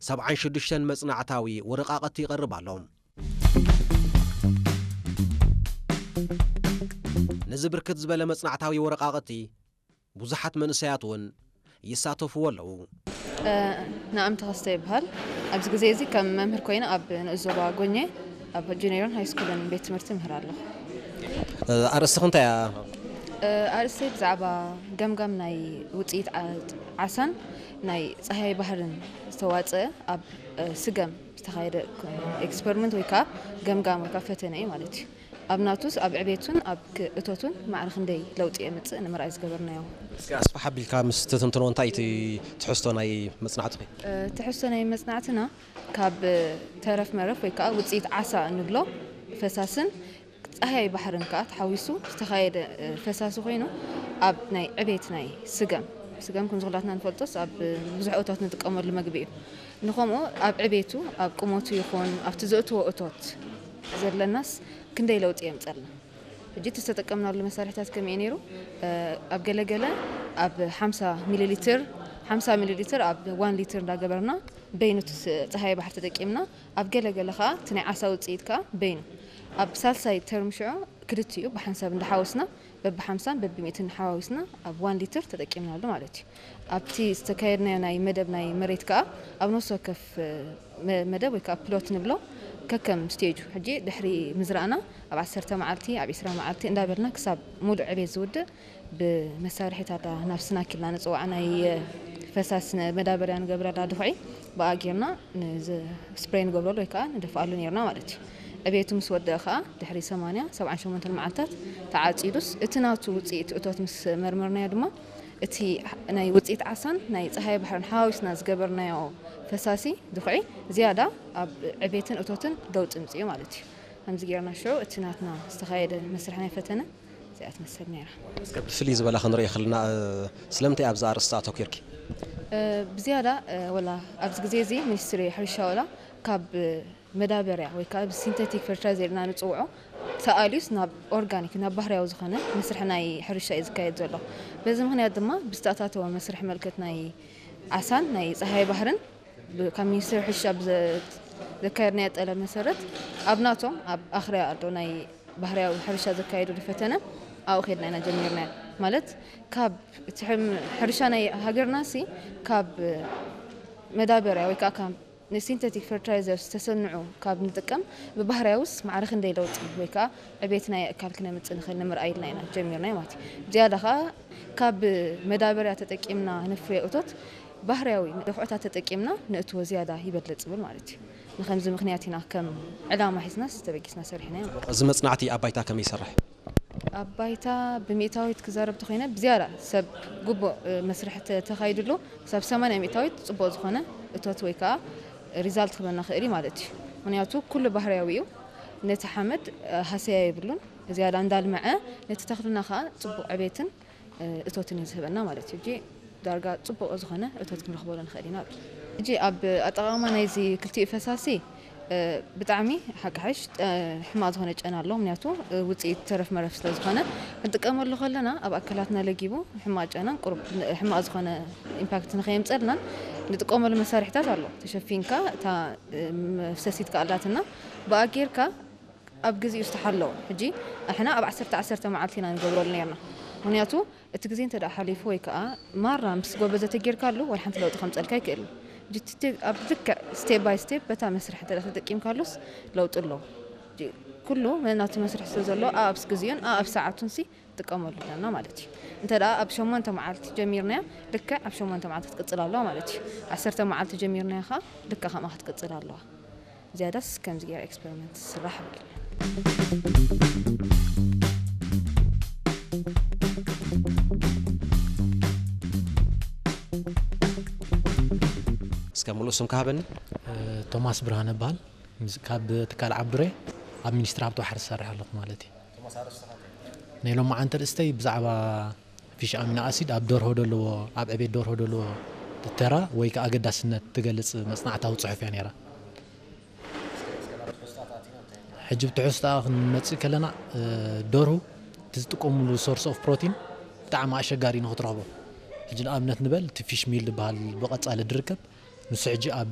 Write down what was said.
ሰብዓን ሽዱሽተን መጽናዕታዊ ወረቓቕቲ ይቐርብ ኣሎ። ነዚ ብርክት ዝበለ መጽናዕታዊ ወረቓቕቲ ብዙሓት መንእሰያት እውን ይሳተፍዎ ኣለዉ። ንኣም ተኸስተ ይበሃል። ኣብዚ ግዜ እዚ ከም መምህር ኮይነ ኣብ ንኡስ ዞባ ጎኘ ኣብ ጁኒየርን ሃይ ስኩልን ቤት ትምህርቲ ምህር ኣለኹ። ኣርእስትኺ እንታይ እያ? ኣርእስተይ ብዛዕባ ገምጋም ናይ ውፅኢት ዓሳን ናይ ፀሃይ ባህርን ዝተዋፀ ኣብ ስገም ዝተኻየደ ኤክስፐሪመንት ወይ ከዓ ገምጋም ወይ ከዓ ፈተነ እዩ ማለት እዩ። ኣብ ናቱስ ኣብ ዕቤቱን ኣብ እቶቱን ማዕረ ክንደይ ለውጢ የምፅእ ንምርኣይ ዝገበርናዮ። እስኪ ኣስፍሕ ኣቢልካ ምስ ትትንትኖ እንታይ እቲ ትሕዝቶ ናይ መፅናዕትኺ? ትሕዝቶ ናይ መፅናዕትና ካብ ተረፍ መረፍ ወይ ከዓ ውፅኢት ዓሳ እንብሎ ፈሳስን ፀሃይ ባሕርን ከዓ ተሓዊሱ ዝተኻየደ ፈሳሲ ኮይኑ ኣብ ናይ ዕቤት ናይ ስገም ስገም ከም ዝኩላትና ንፈልጦስ ኣብ ብዙሕ እቶት ንጥቀመሉ መግቢ እዩ። ንኸምኡ ኣብ ዕቤቱ ኣብ ቁመቱ ይኹን ኣብቲ ዘእትዎ እቶት ዘለናስ ክንደይ ለውጢ የምፀልና። ሕጂ እቲ ዝተጠቀምናሉ መሳርሕታት ከመይ ነይሩ? ኣብ ገለገለ ኣብ ሓምሳ ሚሊ ሊትር ሓምሳ ሚሊ ሊትር ኣብ ዋን ሊትር እንዳገበርና በይኑ እቲ ስ- ፀሃይ ባሕሪ ተጠቂምና ኣብ ገለገለ ከዓ እቲ ናይ ዓሳ ውፅኢት ከዓ በይኑ ኣብ ሳልሳይ ተርም ሽዑ ክልቲኡ ብሓንሳብ እንዳሓወስና በብሓምሳን በብሚእትን ሓዋዊስና ኣብ ዋን ሊትር ተጠቂምናሉ ማለት እዩ። ኣብቲ ዝተካየድናዮ ናይ መደብ ናይ መሬት ከዓ ኣብ ነፍሲ ወከፍ መደብ ወይ ከዓ ፕሎት ንብሎ ከከም ስቴጁ ሕጂ ድሕሪ ምዝራእና ኣብ ዓሰርተ መዓልቲ ኣብ ዒስራ መዓልቲ እንዳበልና ክሳብ ሙሉእ ዕቤት ዝውድእ ብመሳርሒታታ ናብ ስናክ ኢልና ንፅዋዕ ናይ ፈሳሲ መዳበርያ ንገብረላ ድኹዒ ብኣ ጌርና ስፕሬይ ንገብረሉ ወይ ከዓ ንደፍኣሉ ነርና ማለት እዩ። ዕቤቱ ምስ ወደአ ከዓ ድሕሪ ሰማንያ ሰብዓን ሸሞንተን መዓልታት ተዓፂዱስ እቲ ናቱ ውፅኢት እቶት ምስ መርመርናዮ ድማ እቲ ናይ ውፅኢት ዓሳን ናይ ፀሃይ ባሕርን ሓዋዊስና ዝገበርናዮ ፈሳሲ ድኹዒ ዝያዳ ኣብ ዕቤትን እቶትን ለውጢ ምፅኡ ማለት እዩ። ከምዚ ጌርና ሽዑ እቲ ናትና ዝተኻየደ መስርሕ ናይ ፈተነ እዚኣ ትመስል ነይራ። እስከ ብፍልይ ዝበለ ክንርኢ ከለና ስለምንታይ ኣብዚ ኣርእስቲ ኣተኲርኪ? ብዝያዳ ወላ ኣብዚ ግዜ እዚ ሚኒስትሪ ሕርሻ ወላ ካብ መዳበርያ ወይ ከዓ ብሲንተቲክ ፈርቲላይዘር ኢልና ንፅውዖ ተኣልዩስ ናብ ኦርጋኒክ ናብ ባህርያዊ ዝኾነ መስርሒ ናይ ሕርሻ እዩ ዝካየድ ዘሎ። በዚ ምክንያት ድማ ብዝተኣታተወ መስርሒ መልክት ናይ ዓሳን ናይ ፀሃይ ባህርን ካብ ሚኒስትሪ ሕርሻ ብዘካየድናዮ ጠለብ መሰረት ኣብ ናቶም ኣብ ኣኽርያ ኣሎ ናይ ባህርያዊ ሕርሻ ዘካየድሉ ፈተነ ኣብኡ ከድና ኢና ጀሚርናዮ። ማለት ካብ እቲ ሕርሻ ናይ ሃገርና ሲ ካብ መዳበርያ ወይ ከዓ ካብ ንሲንተቲክ ፈርቲላይዘርስ ተሰንዑ ካብ ንጥቀም ብባህርያውስ ማዕረ ክንደይ ለውጢ ወይ ከዓ ዕቤት ናይ ኣእካል ክነምፅእ ንኽእል ንምርኣይ ኢልና ኢና ጀሚርናዮ ማለት እዩ። ዝያዳ ከዓ ካብ መዳበርያ ተጠቂምና ነፍርዮ እቶት ባህርያዊ ደፍዖታት ተጠቂምና ነእትዎ ዝያዳ ይበልፅ ዝብል ማለት እዩ። ንኸምዚ ምኽንያት ኢና ከም ዕላማ ሒዝናስ ተበጊስና ሰሪሕናዮ። እዚ መፅናዕቲ ኣብ ባይታ ከመይ ይሰርሕ? ኣብ ባይታ ብሚእታዊት ክዛረብ ተኾይነ ብዝያዳ ሰብ ግቡእ መስርሕ ተኻይድሉ ክሳብ ሰማንያ ሚእታዊት ፅቡቕ ዝኾነ እቶት ወይ ከዓ ሪዛልት ክበና ክእል እዩ ማለት እዩ። ምክንያቱ ኩሉ ባህርያዊ እዩ። ነቲ ሓመድ ሃሰያ የብሉን። ዝያዳ እንዳልመዐ ነቲ ተኽልና ከዓ ፅቡቕ ዕቤትን እቶትን እዩ ዝህበና ማለት እዩ። ሕጂ ዳርጋ ፅቡቕ ዝኾነ እቶት ክንረኽበሉ ንኽእል ኢና። ሕጂ ኣብ ኣጠቓቕማ ናይዚ ክልቲኡ ፈሳሲ ብጣዕሚ ሓቂ ሓሽ ሕማቕ ዝኾነ ጨና ኣሎ። ምክንያቱ ውፅኢት ተረፍ መረፍ ስለ ዝኾነ ክንጥቀመሉ ከለና ኣብ ኣካላትና ለጊቡ ሕማቕ ጨናን ቁሩብ ሕማቕ ዝኾነ ኢምፓክት ንኸየምፀልናን ንጥቀመሉ መሳርሕታት ኣሎ። ተሸፊንካ እታ መፍሰሲት ከኣላትና ብኣ ጌርካ ኣብ ግዜኡ ዝተሓለወ። ሕጂ ንሕና ኣብ ዓሰርተ ዓሰርተ መዓልቲ ኢና ንገብረሉ ነርና። ምክንያቱ እቲ ግዜ እንተ ደኣ ሓሊፉ ወይ ከዓ ማራ ምስ ጎበዘ ተጌርካሉ ዋላ ሓንቲ ለውጢ ከምፀልካ ኣይክእልን። ሕጂ እቲ ኣብ ልክዕ ስቴፕ ባይ ስቴፕ በታ መስርሕ እንተ ደኣ ተጠቂምካሉስ ለውጢ ኣለዎ። ሕጂ ኩሉ ናቱ መስርሕ ስለ ዘሎ ኣብ ግዜኡን ኣብ ሰዓቱን ሲ ጥቀመሉ ኣለና ማለት እዩ። እንተ ደኣ ኣብ ሸሞንተ መዓልቲ ጀሚርናያ ልክዕ ኣብ ሸሞንተ መዓልቲ ክትቅፅል ኣለዋ ማለት እዩ። ዓሰርተ መዓልቲ ጀሚርናያ ከዓ ልክዕ ከምኣ ክትቅፅል ኣለዋ። ዝያዳስ ከምዚ ገይራ ኤክስፐሪመንት ዝስራሕ ይብል። እስከ ሙሉእ ስምካ ሃበኒ። ቶማስ ብርሃነ እበሃል። ካብ ትካል ዓብዱሬ ኣብ ሚኒስትሪ ሃብቲ ባሕሪ ዝሰርሕ ኣለኹ ማለት እዩ። ናይ ሎማዓንቲ ርእስተይ ብዛዕባ ፊሽ ኣሚኖ ኣሲድ ኣብ ደርሆ ደለዎ ኣብ ዕቤት ደርሆ ደለዎ ተራ ወይ ከዓ ኣገዳስነት ትገልፅ መፅናዕታዊ ፅሑፍ እያ ነይራ። ሕጂ ብትሕዝቶኣ ክንመፅእ ከለና ደርሁ እቲ ዝጥቀሙሉ ሶርስ ኦፍ ፕሮቲን ብጣዕሚ ኣሸጋሪ ንክትረኽቦ። ሕጂ ንኣብነት ንበል እቲ ፊሽ ሚል ዝበሃል ብቐፃሊ ድርከብ ንሱ ሕጂ ኣብ